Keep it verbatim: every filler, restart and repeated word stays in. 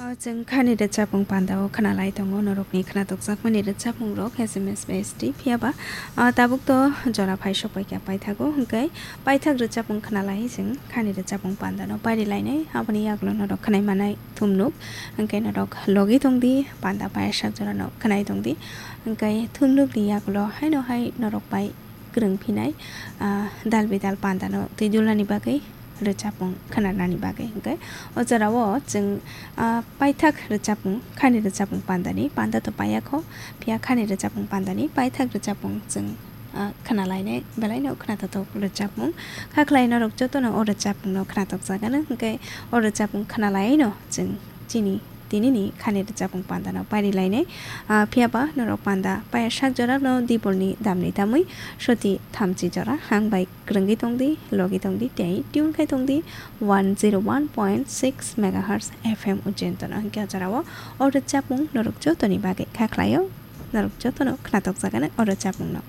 O chwng khani rwchapmung pandao khwnalai tongo norokni khwnatokjakmani rwchapmungrok S M S bai S T, phiyaba, o, tabuk to jora phai sokpaikha paithago, hwnkhe paithak rwchapmung khwnalai chwng khani rwchapmung pandano pairilainai, aboni yagulo norok khwnai manai thumnuk, hwnkhe norok logi tongdi, panda payasak jorano khwnai tongdi, hwnkhe thumnukni yagulo haino hai norok bai kwrwng phinai, ah, dal bidal pandano twi dulnani bagwi rwchapmung khwnanani bagwi. Hwnkhe o jorao chwng, ah, paithak rwchapmung, khani rwchapmung pandani panda to paiya kho, phiya khani rwchapmung pandani paithak rwchapmung chwng, ah, khwnalainai belaino khwnathothok rwchapmung. Kha khlai norok jotono o rwchapmungno khwnatokjagano, hwnkhe o rwchapmung khwnalaino chwng chini tinini khani rwchapmung pandano pairilainai. Ah, phiyaba norok panda payasak jorano dibolni damni tamwi soti thamchi jora hang bai kwrwngwi tongdi, logi tongdi tei tune khai tongdi one zero one point six megahertz F M Ujjaintono. Hwnkhe o jorao o rwchapmung norok jotoni bagwi kha khlaio, norok jotono khwnatokjagano o rwchapmungno.